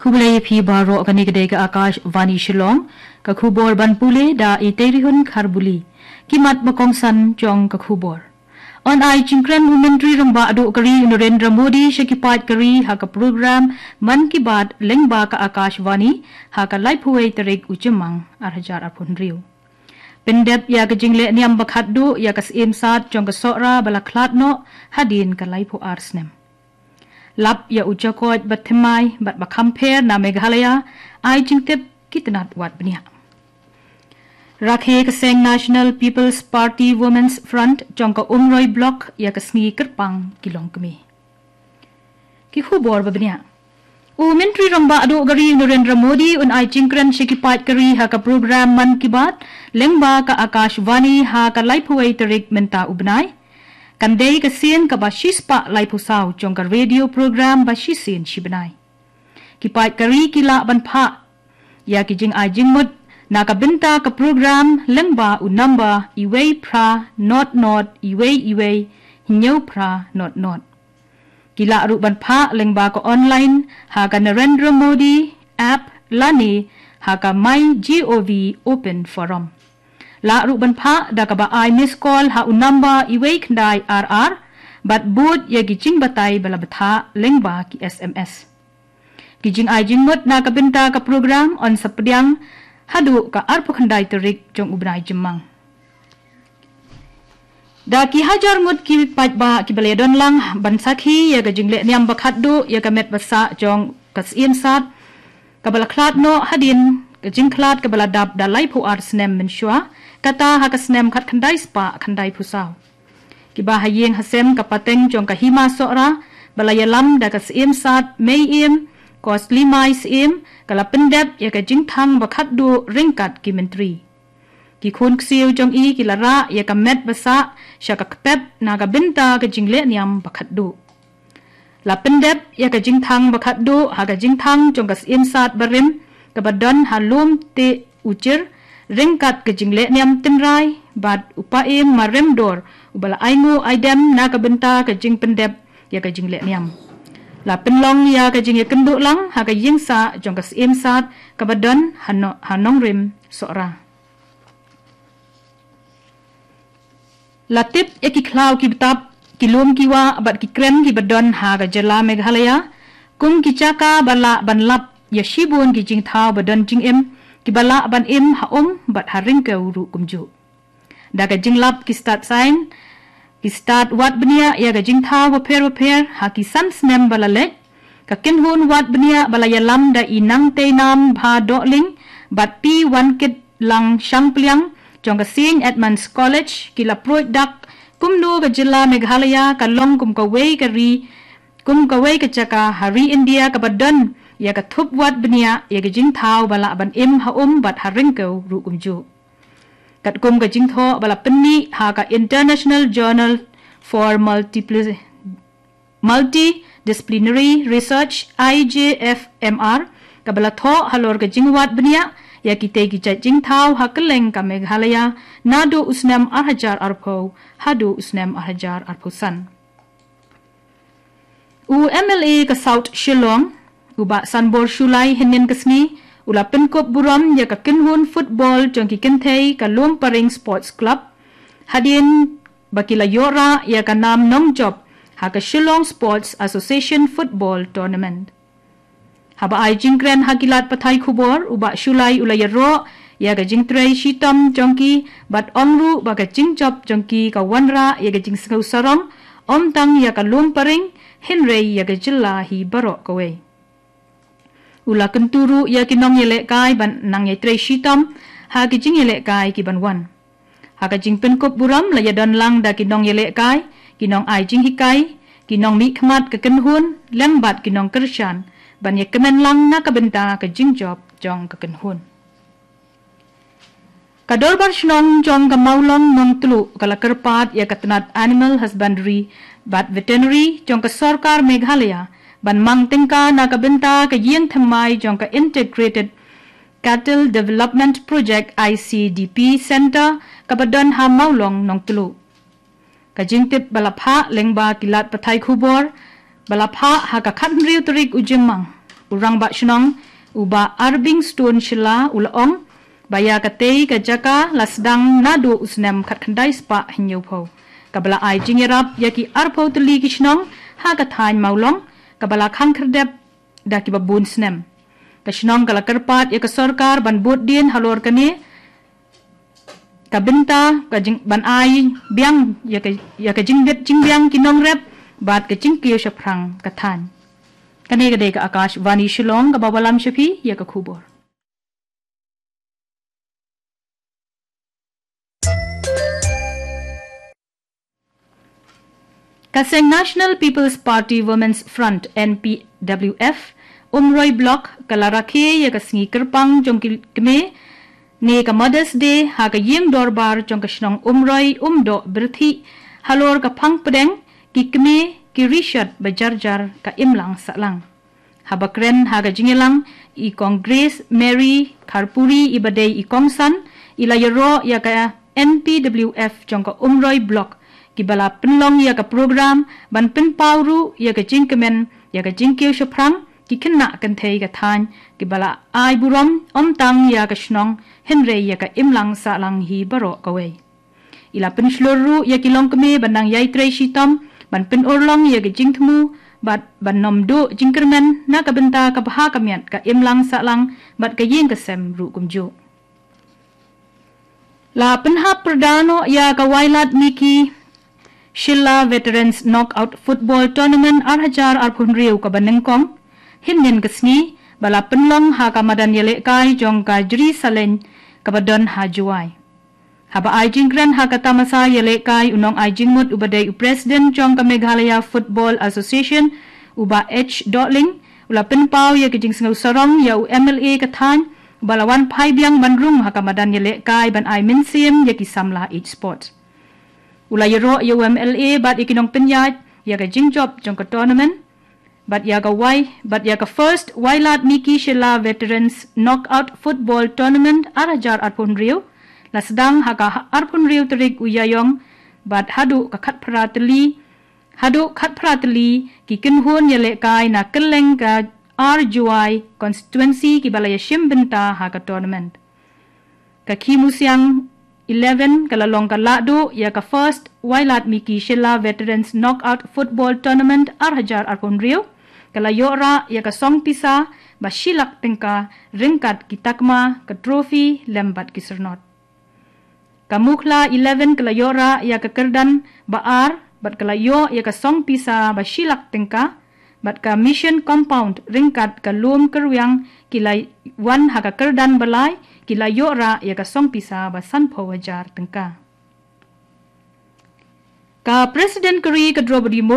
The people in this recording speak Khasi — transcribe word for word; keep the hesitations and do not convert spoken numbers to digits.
Khublei phi baroh, kane ka dei ka Akashvani Shillong, ka khubor ban pule da i Teirihun Kharbuli. Ki mat ba kongsan jong ka khubor. Yn ai jingkren u Myntri Rangbah Duh ka ri u Narendra Modi sha ki paid ka ri ha ka program Mann Ki Baat lyngba ka Akashvani ha ka laiphew wei tarik u Jymmang ar hajar arphew hynriew. Pyndep ïa ka jingleh niam ba khatduh ïa ka Syiem Sad jong ka Sohra ba la khlad noh hadien ka laiphew ar snem. Lap ïa u jakoit ba thymmai bad ba kham pher na Meghalaya, ai jingtip ki tnat wad bniah. Rakhe ka seng National People's Party Women's Front jong ka Umroi Block ïa ka sngi kyrpang ki longkmie. Ki khubor ba bniah. U Myntri Rangbah Duh ka ri u Narendra Modi un ai jingkren sha ki paid ka ri ha ka program Mann Ki Baat lyngba ka Akashvani ha ka laiphew wei tarik mynta u bnai. Kan dei ka sien kaba shispah laiphew saw jong ka radio program ba shisien shibnai. Ki paid ka ri ki lah ban phah ïa ki jingai jingmut na ka bynta ka program lyngba u number iwei phra not not iwei iwei hynñiew phra not not. Ki lah ruh ban phah lyngba ka online ha ka Narendra Modi app lane ha ka MyGov Open Forum. Lah ruh ban phah da kaba ai miss call ha u number iwei khyndai ar ar bad bud ïa ki jingbatai ba la bthah lyngba ki S M S. Ki jingai jingmut na ka bynta ka program yn sa pdiang haduh ka arphew khyndai tarik jong u bnai Jymmang. Da ki hajar ngut ki paidbah kiba la ïadon lang ban sakhi ïa ka jingleh niam ba khatduh ïa ka met ba sah jong ka Syiem Sad kaba la khlad noh hadien ka jingkhlad kaba la dap da laiphew ar snem mynshuwa, kata ha ka snem khatkhyndai spah khyndaiphew saw. Kiba ha ïing ha sem ka pateng jong ka Hima Sohra ba la ïalam da ka Syiem Sad Mei Im Koslimai Syiem ka la pyndep ïa ka jingthang ba khatduh ryngkat ki myntri. Ki khun ksiew jong i ki la rah ïa ka met ba sah sha ka kpep na ka bynta ka jingleh niam ba khatduh. La pyndep ïa ka jingthang ba khatduh ha ka jingthang jong ka Syiem Sad barim kaba don ha Lum Teh Uchir ryngkat ka jingleh niam tynrai bad u Paiem Marem Dor uba la ainguh aidem na ka bynta ka jingpyndep ïa ka jingleh niam. La pynlong ïa ka jingïakynduh lang ha ka ïingsah jong ka Syiem Sad kaba don ha no-, ha Nongrim Sohra. La tip ïa ki khlaw ki btap, ki lum ki wah bad ki krem kiba don ha ka jylla Meghalaya kum ki jaka ba lah ban lap ïa shibun ki jingthaw ba don jingim kiba lah ban im ha um bad ha ryngkew ruh kumjuh. Da ka jinglap ki stad saiñ, ki stad wad bniah ïa ka jingthaw bapher bapher ha ki san snem ba la leit, ka kynhun wad bniah ba la ïalam da i Nangteinam Bhadohling bad Pi Wankitlang Shangpliang jong ka Saint Edmund's College ki la pruid dak kumno ka jylla Meghalaya ka long kum kawei ka ri, kum kawei ka jaka ha ri India kaba don ïa ka thup wad bniah ïa ka jingthaw ba lah ban im ha um bad ha ryngkew ruh kumjuh. Katkum ka jingthoh ba la pynmih ha ka International Journal for Multipli-, Multidisciplinary Research, I J F M R, kaba la thoh halor ka jingwad bniah ïa kitei ki jait jingthaw ha kylleng ka Meghalaya naduh u snem ar hajar arphew haduh u snem ar hajar arphew san. U M L A ka South Shillong, u Bah Sanbor Shullai, hynnin ka sngi u la pynkup burom ïa ka kynhun football jong ki kynthei ka Lumparing Sports Club hadien ba ki la ïoh rah ïa ka nam nongjop ha ka Shillong Sports Association Football Tournament. Haba ai jingkren ha ki lad pathai khubor, u Bah Shullai u la ïaroh ïa ka jingtrei shitom jong ki bad ong ruh ba ka jingjop jong ki ka wanrah ïa ka jingsngew sarong ym tang ïa ka Lumparing hynrei ïa ka jylla hi baroh kawei. U la kyntu ruh ïa ki nongïalehkai ban nang ïatrei shitom ha ki jingïalehkai ki ban wan. Ha ka jingpynkup burom la ïadon lang da ki nongïalehkai, ki nongai jinghikai, ki nongmihkhmat ka kynhun lem bad ki nongkyrshan ban ïakmen lang na ka bynta ka jingjop jong ka kynhun. Ka Dorbar Shnong jong ka Mawlong Nongtluh ka la kyrpad ïa ka tnat Animal Husbandry bad Veterinary jong ka Sorkar Meghalaya ban mang tyngka na ka bynta ka ïing thymmai jong ka Integrated Cattle Development Project, I C D P Center, kaba don ha Mawlong Nongtluh. Ka jingtip ba la phah lyngba ki lad pathai khubor ba la phah ha ka khathynriew tarik u Jymmang. U Rangbah Shnong, u Bah Arbing Stone Shylla, u la ong ba ïa katei ka jaka la sdang naduh u snem khatkhyndai spah hynñiewphew, kaba la ai jingïarap ïa ki arphew tylli ki shnong ha ka thaiñ Mawlong, kaba la khang khyrdep da kiba bun snem. Ka shnong ka la kyrpad ïa ka sorkar ban bud dien halor kane ka bynta, ka jing, ban ai biang ïa ka, ïa ka jingbit jingbiang ki nongrep bad ka jingkiew shaphrang ka thaiñ. Kane ka dei ka Akashvani Shillong, kaba wallam sha phi ïa ka khubor. Ka seng National People's Party Women's Front, N P W F, Umroi Block, ka la rakhe ïa ka sngi kyrpang jong ki kmie, ne ka Mother's Day, ha ka ïing dorbar jong ka shnong Umroi, Umdoh Birthi, halor ka phang pdeng, ki kmie ki rishot ba jar jar ka imlang sahlang. Haba kren ha ka jingïalang, i Kong Grace Mary Kharpuri, iba dei i kongsan, i la ïaroh ïa ka N P W F jong ka Umroi Block, kiba la pynlong ïa ka program ban pynpaw ruh ïa ka jingkmen ïa ka jingkiew shaphrang ki khynnah kynthei ka thaiñ, kiba la ai burom ym tang ïa ka shnong hynrei ïa ka imlang sahlang hi baroh kawei. I la pynshlur ruh ïa ki longkmie ban nang ïai trei shitom ban pynurlong ïa ka jingthmu bad ban nym duh jingkyrmen na ka bynta ka bha ka miat ka imlang sahlang bad ka ïing ka sem ruh kumjuh. La pynhap pyrda noh ïa ka Wailadmiki Shylla Veterans Knockout Football Tournament ar hajar arphew hynriew kaba nyngkong hynnin ka sngi, ba la pynlong ha ka madan ïalehkai jong ka Jri Saleng kaba don ha Jowai. Haba ai jingkren ha ka tamasa ïalehkai, u nongai jingmut uba dei u President jong ka Meghalaya Football Association, u Bah H Dohling, u la pynpaw ïa ka jingsngew sarong ïa u M L A ka thaiñ, uba la wan phai biang ban rung ha ka madan ïalehkai ban ai mynsiem ïa ki samla ïeit sport. U la ïaroh ïa u M L A bad ïa ki nongpynïaid ïa ka jingjop jong ka tournament, bad ïa ka Wai, bad ïa ka First Wailadmiki Shylla Veterans Knockout Football Tournament ar hajar arphew hynriew, la sdang ha ka arphew hynriew tarik u Ïaïong, bad haduh ka khatphra tylli, haduh khatphra tylli ki kynhun ïalehkai na kylleng ka ar Jowai constituency kiba la ïashim bynta ha ka tournament. Ka Khimusiang eleven ka la long ka lahduh ïa ka First Wailadmiki Shylla Veterans Knockout Football Tournament ar hajar arphew hynriew, ka la ïoh rah ïa ka song pisa ba shi lak tyngka ryngkat ki takma, ka trophy lem bad ki syrnod. Ka Mukhla eleven ka la ïoh rah ïa ka kyrdan ba ar bad ka la ïoh ïa ka song pisa ba shi lak tyngka, bad ka Mission Compound ryngkat ka Lum Kyrwiang ki la wan ha ka kyrdan ba lai, ki la ïoh rah ïa ka song pisa ba sanphew hajar tyngka. Ka President ka ri ka Droupadi Murmu